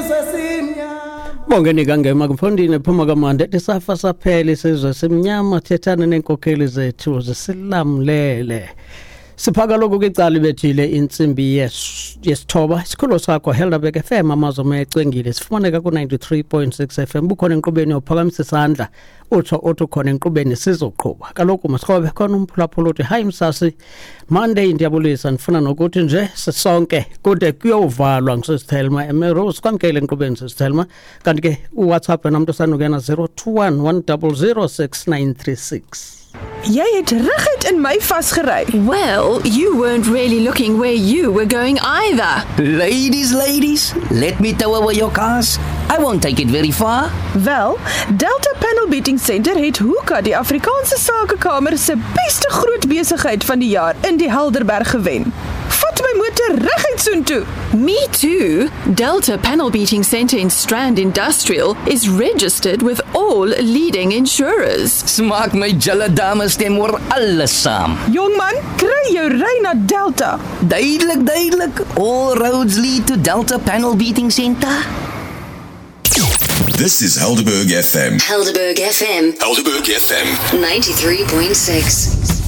Isizwe simnyama. Bongeni kangema kumfondini phuma kamande ethi safa saphela isizwe simnyama, thethana neenkokheli zethu zisilamlele. Siphaka lokhu kwicala ibethile intsimbi yesithoba. Isikhululo sakho Helderberg FM, amazwe ecwengile, sifumaneka ku-93.6 FM. Bukhona enkqubeni, uphakamisa isandla utsho uthi ukhona enkqubeni, sizoqhuba kaloku masikhobe khona. Umphulaphula uthi hayi msasi Monday, ndiyabulisa, ndifuna nokuthi nje sisonke kude kuyovalwa ngusisithelma emerose. Kwamkele enkqubeni sisithelma. Kanti ke uWhatsApp wena mntu osanukena 021 100 6936. Jy het reguit in my vasgery. Well, you weren't really looking where you were going either. Ladies, ladies, let me tow away your cars. I won't take it very far. Wel, Delta Panel Beating Center het Hoeka die Afrikaanse Sakekamer se beste groot besigheid van die jaar in die Helderberg gewen. Vat my motor reguit soontoe. Me too. Delta Panel Beating Center in Strand Industrial is registered with all leading insurers. Smaak my julle dames stem oor alles saam. Jongman, kry jou ry na Delta. Duidelik, duidelik. All roads lead to Delta Panel Beating Center. This is Helderberg FM. Helderberg FM Helderberg FM. 93.6.